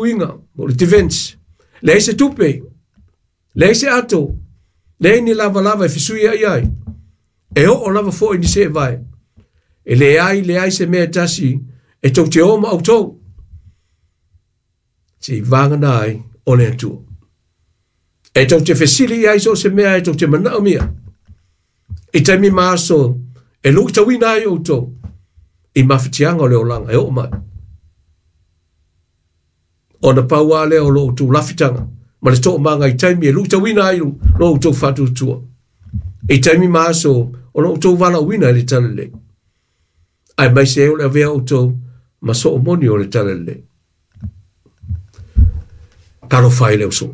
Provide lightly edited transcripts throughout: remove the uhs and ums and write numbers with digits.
puipuiga, po o le defense. Leai se tupe, leai se ato, leai ni lavalava e fesuia'i ai, e oo lava fo'i ni seevae. E leai leai se mea e tasi e tou te o ma outou, seiavagana ai o le Atua. E tou te fesili i ai so o se mea e tou te manaomia, i taimi ma aso e luitauina ai outou i mafatiaga o le olaga e oo mai. Ona pau lava lea o lo outou lafitaga ma le toomaga i taimi e luitauina ai lo outou faatuatua, i taimi ma aso o lo outou valaauina i le talalelei, aemaise ai o le avea outou ma soomoni o le talalelei. Talofa e le uso.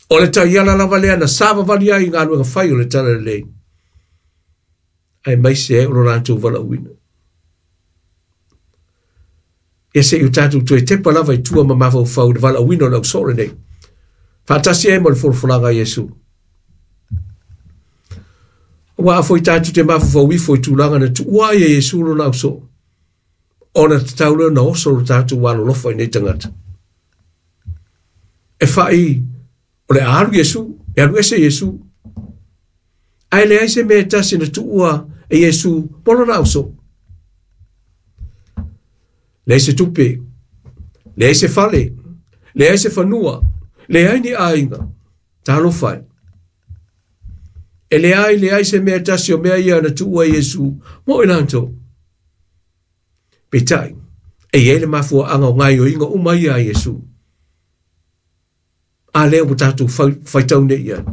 O le taiala lava lea na savavali ai i galuega fai o le talalelei, aemaise ai o lo latou valaauina. Ia se i o tatou toe tepa lava i tua ma mafaufau i le valaauina o le ausoo lenei, faatasi ai ma le folafolaga a Iesu. Aua a foi tatou te mafaufau ifo i tulaga na tuua ai e Iesu lona ausoo, ona tatau lea ona oso lo tatou alolofa i nei tagata. E fai o le a alu Iesu, e alu ese Iesu. Ae leai se mea e tasi na tuua e Iesu mo lona ausoo. Leai se tupe, leai se fale, leai se fanua, leai ni aiga, talofa e. E leai leai se mea e tasi o mea ia na tuua e Iesu mo i latou. Peitai, e i ai le mafuaaga o gaoioiga uma ia a Iesu. A lea ua tatou faitau nei i ai.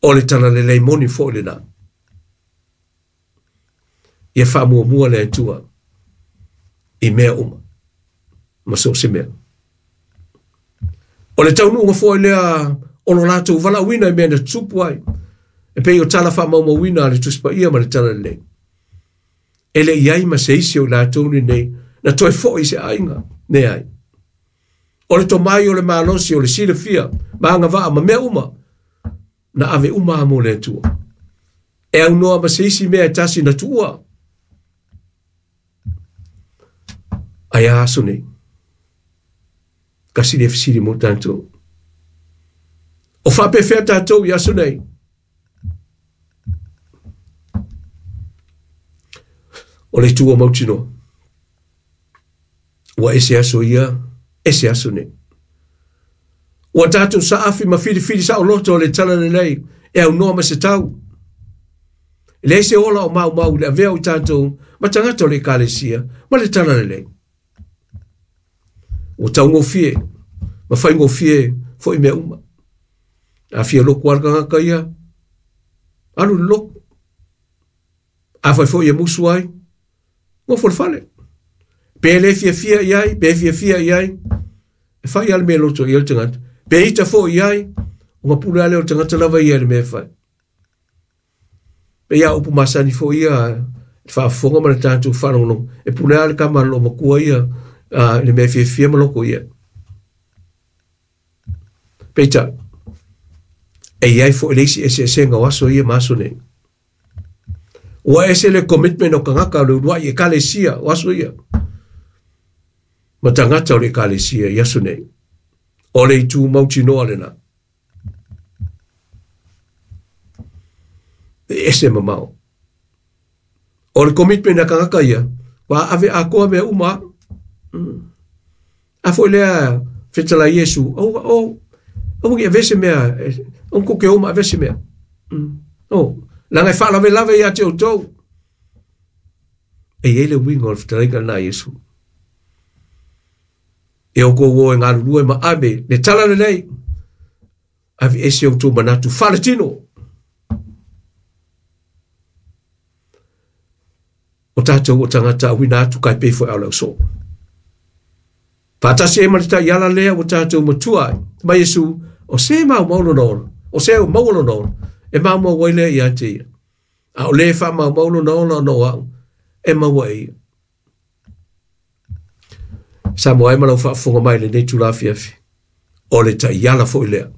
O le talalelei moni foi lena. Ia faamuamua le Atua i mea uma ma so o se mea. O le taunuuga foi lea o lo latou valaauina i mea na tutupu ai, e pei o tala faamaumauina a le Tusi Paia ma le Talalelei. E le i ai ma se isi o i latou lenei na toe foi i se aiga, leai. O le tomai o le malosi o le silafia ma agavaa ma mea uma, na ave uma lava mo le Atua. E aunoa ma se isi mea e tasi na tuua. Ae a aso nei? Tasi lea fesili mo tatou. O faapefea tatou i aso nei? O le itu o mautinoa. Ua ese aso ia, ese aso nei. Ua tatou saafi ma filifili saoloto o le talalelei e aunoa ma se tau. E leai se ola o maumau i le avea o i tatou ma tagata o le Ekalesia ma le talalelei. Ua taugofie ma faigofie foi mea uma. A fia loku lava le tagata ia, alu i le loku. Afai foi e musu ai, nofo i le fale. Pe le fiafia i ai, pe fiafia i ai, e fai lava le mea e loto i ai le tagata. Pe ita foi i ai, ona pule lava lea o le tagata lava ia i le mea e fai. Pei a upu masani foi ia le faafofoga ma le tatou faalogologo, e pule lava le tama a le loomatua ia i le mea e fiafia ma loko i ai. Peitai, e i ai foi le isi eseesega o aso ia ma aso nei. Ua ese le commitment o tagata o le uluai ekalesia o aso ia ma tagata o le ekalesia i aso nei. O le itu mautinoa lena. E ese mamao. O le commitment a tagata ia, ua ave atoa mea uma. A foi lea fetalai Iesu, o, o, aua ne i avea se mea, aua tou te o ma avea se mea. O, leaga e faalavelave ia te outou. E i ai le uiga o le fetalaiga lena a Iesu. E outou o e galulue ma ave le talalelei, aveese outou manatu faaletino. O tatou o tagata auina atu kai pei foi a o le ausoo. Faatasi ai ma le taiala lea ua tatou matua ai. Mai Iesu, o se maumau lona ola, o se maua lona ola, e maumau ai lea ia te ia. A o le faamaumau lona ola ona o au, e maua e ia. Samoa e ma lau faafofoga mai i lenei itula afiafi. O le taiala foi lea.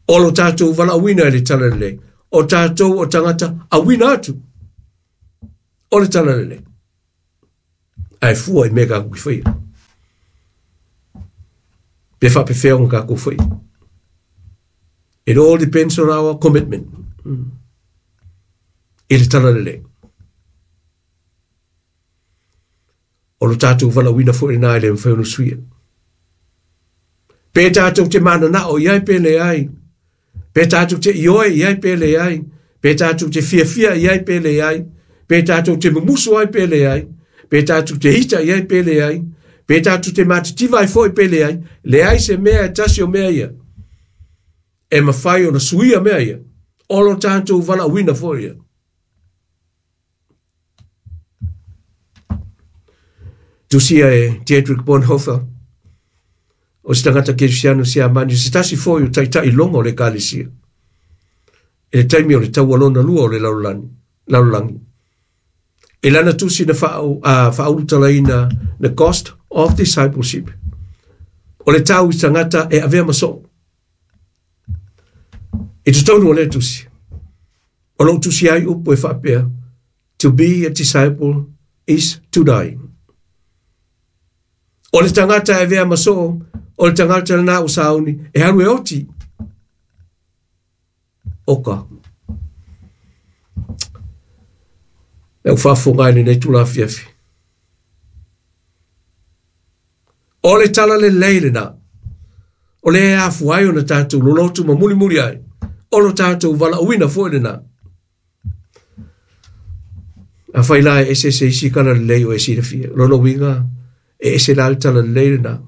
O lo tatou valaauina i le talalelei. O tatou o tagata auina atu. O le talalelei. Ae fua i mea tatou te faia. Pe faapefea ona tatou faia. It all depends on our commitment i le talalelei. O lo tatou valaauina foi lena e le mafai ona suia. Pe tatou te mananao i ai pe leai, pe tatou te ioe i ai pe leai, pe tatou te fiafia i ai pe leai, pe tatou te mumusu ai pe leai, pe tatou te ita i ai pe leai, pe tatou te matitiva ai foi pe leai, leai se mea e tasi o mea ia e mafai ona suia mea ia. O lo tatou valaauina foi ia. Tusia e Dietrich Bonhoeffer, o se tagata kerisiano Siamani, o se tasi foi o taitailoga o le Ekalesia i le taimi o le taua lona lua o le lalolagi. I lana tusi na faaulutalaina The Cost of Discipleship, o le tau i tagata e avea ma soo. I totonu o lea tusi, o loo tusi ai upu e faapea, To be a disciple is to die. O le tagata e avea ma soo, o le tagata lena ua sauni e alu e oti. Oka. E faafofoga i lenei itula afiafi. O le talalelei lena. O le afua ai ona tatou lolotu ma mulimuli ai. O lo tatou valaauina foi lena. Afai la e ese se isi talalelei o e silafia. Lona uiga e ese la le talalelei lena.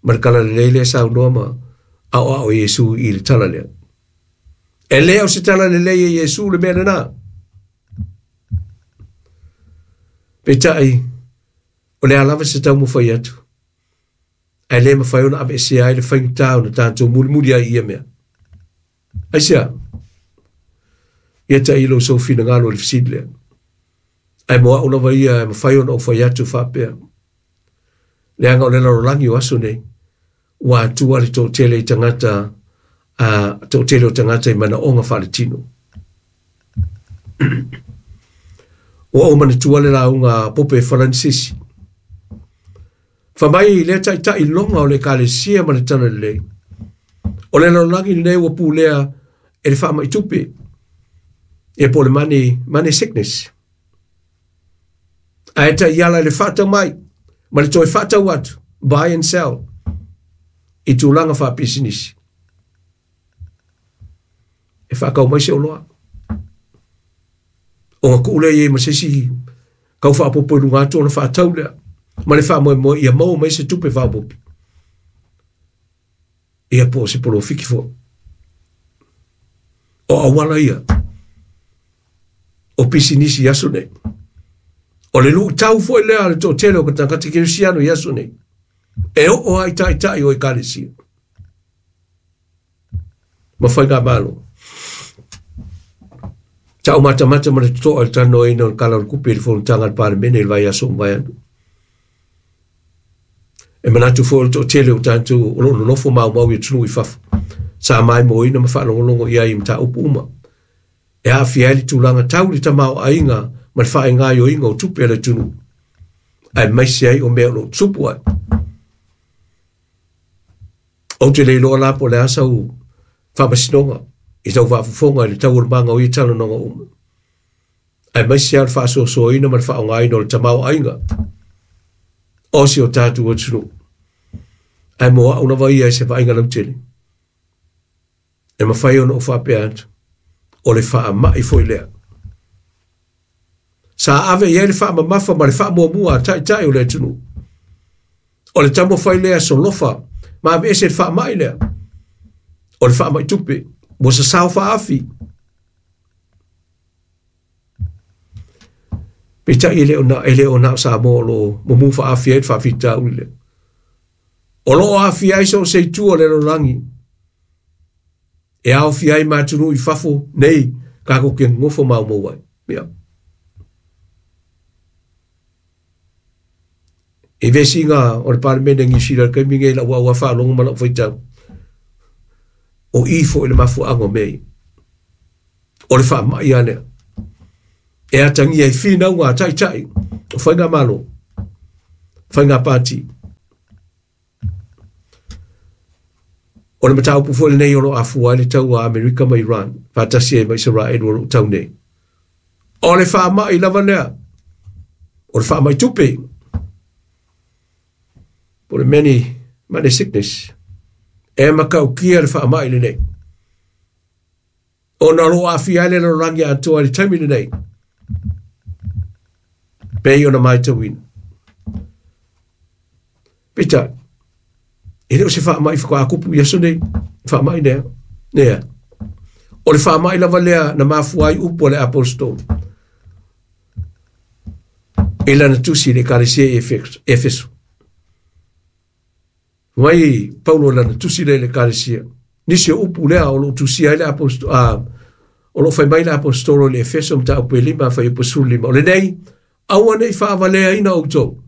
Ma le talalelei lea saunoa ma aoao Iesu i le tala lea. E le o se talalelei e Iesu le mea lena. Peitai, o le a lava se taumafai atu. Ae le mafai ona aveesea ai le faigata ona tatou mulimuli ai i ia mea. Aisea? Ia tailo sou finagalo i le fesili lea. Ae mo au lava ia e mafai ona ou fai atu faapea. Leaga o le lalolagi o aso nei, ua atua le toatele i tagata, toatele o tagata i manaoga faaletino. Ua ou manatua le lauga a Pope Faranisisi. Fai mai lea taitailoga o le Ekalesia ma le talalelei. O le lalolagi lenei ua pulea e le faamai tupe. Ia po o le money sickness. Ae taiala i le faatau mai ma le toe faatau atu, buy and sell, i tulaga faapisinisi. E faatau mai se oloa. Ona tuu lea i ai ma se isi kau faaopoopo i luga atu ona faatau lea. Ma le faamoemoe ia maua mai se tupe faaopoopo. Ia po o se polofiki foi. O auala ia o pisinisi i aso nei. O le luitau foi lea a le toatele o tagata kerisiano i aso nei. E oo lava i taitai o Ekalesia ma faigamalo. Sa ou matamata ma le totoa i le talanoaina o le Tala o le Tupe i le fonotaga a le Palemene i le vaiaso ua mavae atu. E manatu foi o le toatele o tatou o lo o nonofo maumau i atunuu i fafo, sa maimoaina ma faalogologo i ai i mataupu uma e aafia ai le tulaga tau le tamaoaiga ma le faaigaioiga o tupe a le atunuu, aemaise ai o mea o lo o tupu ai. Ou te le iloa la po o le a sau faamasinoga i tau faafofoga i le taualumaga o ia talanoaga uma, aemaise lava o le faasoasoaina ma le faaaogaina o le tamaoaiga o si o tatou atunuu. Ae mo au lava ia i se vaaiga lautele, e mafai ona ou faapea atu, o le faamai foi lea. Sa ave i ai le faamamafa ma le faamuamua a taitai o le atunuu. O le taumafai lea solofa ma aveese le faamai lea. O le faamai tupe ua sasao faaafi. Peitai e le o na o Samoa o lo o mumu faaafi ai le faafitauli lea. O lo o aafia ai so o se itu o le lalolagi. E aofia ai ma atunuu i fafo nei tatou te nonofo maumau ai. Ia. I vesiga o le Palemene Niu Sila i le taimi nei i lau auā faalogo ma lau faitau, o i foi le mafuaaga o mea ia. O le faamai lava lea e atagia i finauga a taitai o faigamalo, faiga pati. O le mataupu foi lenei o lo o afua ai le taua a Amerika ma Iran, faatasi ai ma Isaraelu o lo o tau nei. O le faamai lava lea, o le faamai tupe, po o le many, money sickness, e matautia le faamai lenei. Ona o lo o aafia ai le lalolagi atoa i le taimi lenei, pei ona matauina. Peitai, e le o se faamai faatoa tupu i aso nei, faamai lea, lea. O le faamai lava lea na mafua ai upu a le aposetolo i lana tusi i le Ekalesia i Efeso. Mai Paulo i lana tusi lea i le Ekalesia. Nisi o upu lea o lo o tusia ai le apostolo, o lo o fai mai le aposetolo i le Efeso mataupu e 5 fuaiupu 15. O lenei, aua ne i faavaleaina outou,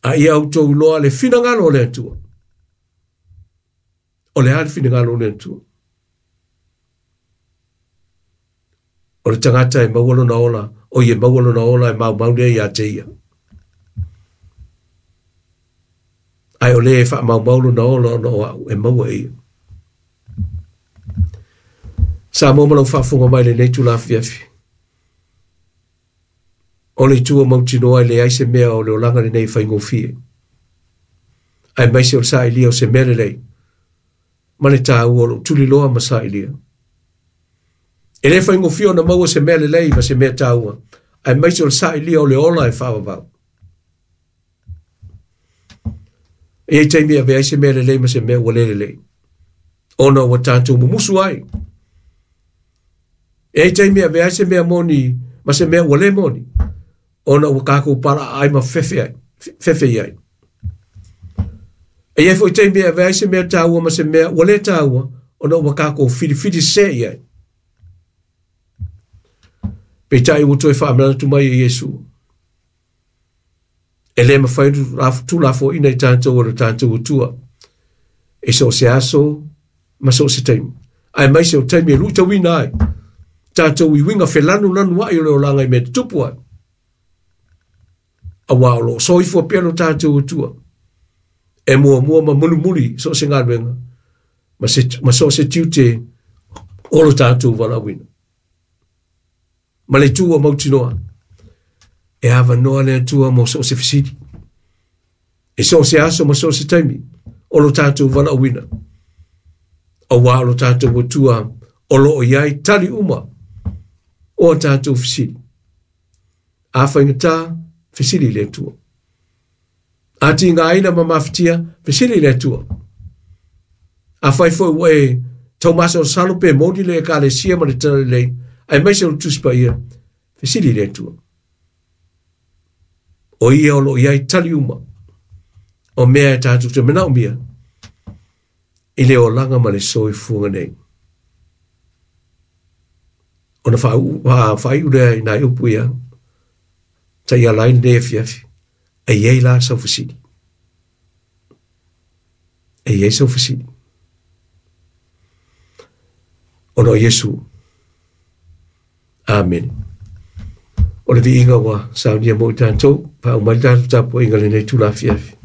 a ia outou iloa le finagalo o le Atua. O le a le finagalo o le Atua? O le tagata e maua lona ola, o ia maua lona ola e maumau lea ia te ia. Ae o le e faamaumau lona ola ona o au e maua e ia. Samoa ma lau faafofoga mai lenei itula afiafi. O le itu o mautinoa e leai se mea o le olaga lenei e faigofie. Aemaise o le sailia o se mea lelei ma le taua o lou tuliloa ma sailia. E le faigofie ona maua se mea lelei ma se mea taua, aemaise o le sailia o le ola e faavavau. E i ai taimi e avea ai se mea lelei ma se mea ua le lelei, ona ua tatou mumusu ai. E i ai taimi e avea ai se mea moni ma se mea ua le moni, ona ua tatou palaaai ma fefe ai, fefe i ai. E i ai foi taimi e avea ai se mea taua ma se mea ua le taua, ona ua tatou filifili sese i ai. Peitai ua toe faamanatu mai e Iesu, e le mafai ona tuulafoaiina i tatou e lo tatou Atua i so o se aso ma so o se taimi, aemaise o taimi e luitauina ai tatou i uiga felanulanuai o le olaga i mea tutupu ai. Auā o lo o soifua pea lo tatou Atua e muamua ma mulimuli so o se galuega ma, se, ma so o se tiute o lo tatou valaauina. Ma le itu ua mautinoa, e avanoa le Atua mo so o se fesili. E so o se aso ma so o se taimi o lo tatou valaauina. Auā o lo tatou Atua o lo o i ai tali uma o a tatou fesili. A faigata, fesili i le Atua. A tigaina ma mafatia, fesili i le Atua. Afai foi ua e taumasalosalo pe moni le Ekalesia ma le Talalelei, aemaise o le Tusi Paia, fesili i le Atua. O ia o lo o i ai tali uma o mea e tatou te manaomia i le olaga ma le soifuaga nei. Ona faaiu lea i nai upu ia, taiala ai lenei afiafi, e i ai la sau fesili. E i ai sau fesili. Ona o Iesu. Amene. O le viiga ua saunia mo i tatou, faauma ai le tatou tapuaiga i lenei itula afiafi.